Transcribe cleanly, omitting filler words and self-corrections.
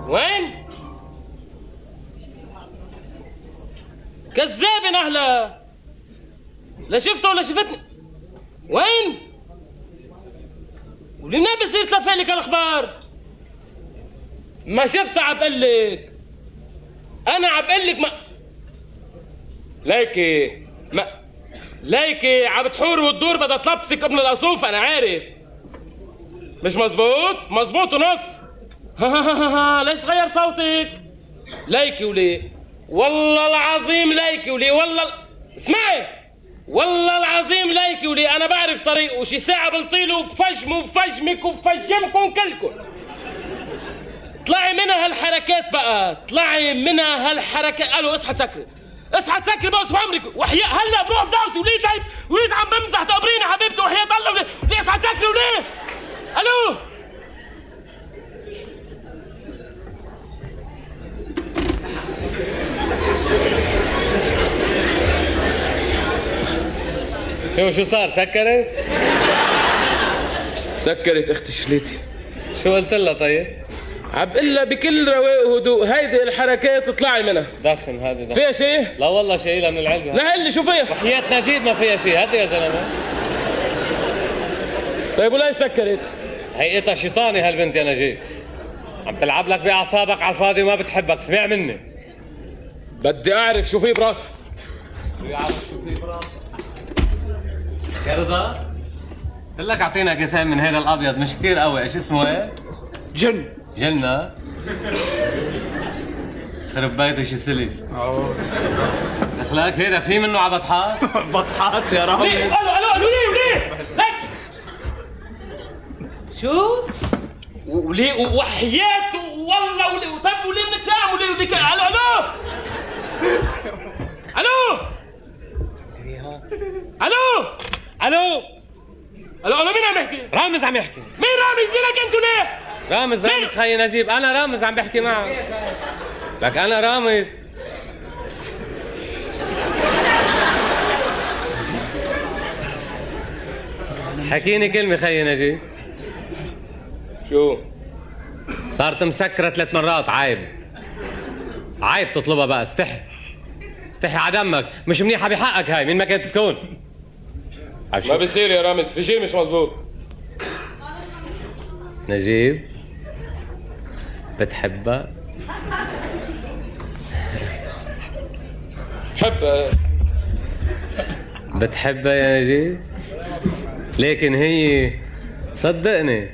وين؟ كذابة نهلة. لا شفته ولا شفتني. وين؟ ولمنين بصير تلفالك هالاخبار؟ ما شفتها عبقلك. انا عبقلك ما ليكي عم تحور وتدور بدها تلبسك ابن القصوف. انا عارف مش مزبوط ونص. ها ليش تغير صوتك؟ ليكي ولي والله العظيم ليكي ولي والله اسمعي والله العظيم ليكي ولي انا بعرف طريقه. شي ساعة بلطيله وبفجمه وبفجمك وبفجمكم كلكم. اطلعي منها هالحركات بقى. اطلعي منها هالحركات. الو اصحى تسكري بقى اسمع عمرك وحياة هلا بروح بدعوتي. وليه طيب وليه عم بمزح تقبريني حبيبتي وحياة الله. وليه اصحى تسكري وليه؟ الو شو صار سكرت؟ سكرت اختي شليتي. شو قلت لها طيب؟ عبقلها بكل رواق وهدوء هيدي الحركات اطلعي منها. دخن هذه فيها شيء؟ لا والله شايلها من العلبة. لا اللي شو فيها؟ وحياة نجيب ما فيها شيء. هدي يا زلمة. طيب ولا سكرت؟ هيئتها شيطاني هالبنت يا نجيب. عم تلعب لك بأعصابك على الفاضي وما بتحبك. اسمع مني. بدي اعرف شو في براسك. شو في براسك؟ يا رضا قلت لك اعطينا كيسين من هذا الابيض مش كثير قوي. ايش اسمه ايه؟ جنة. خرب بيته شو سلس. دخلك هيدا في منه على بطحات؟ بطحات يا رامز. الو ليه لك شو؟ وليه وحياة والله وليه. طيب وليه بنتفاهم وليه الو مين عم يحكي؟ رامز عم يحكي. مين رامز لك انتوا ليه؟ رامز خي نجيب. انا رامز عم بحكي معك. لك انا رامز. حكيني كلمة خي نجيب. شو؟ صارت مسكرة 3 مرات. عيب تطلبها بقى. استحي على دمك. مش منيحة بحقك هاي. مين ما كانت تكون. ما بصير يا رامز في شيء مش مزبوط. نجيب بتحبها؟ بتحبها يا نجيب؟ لكن هي صدقني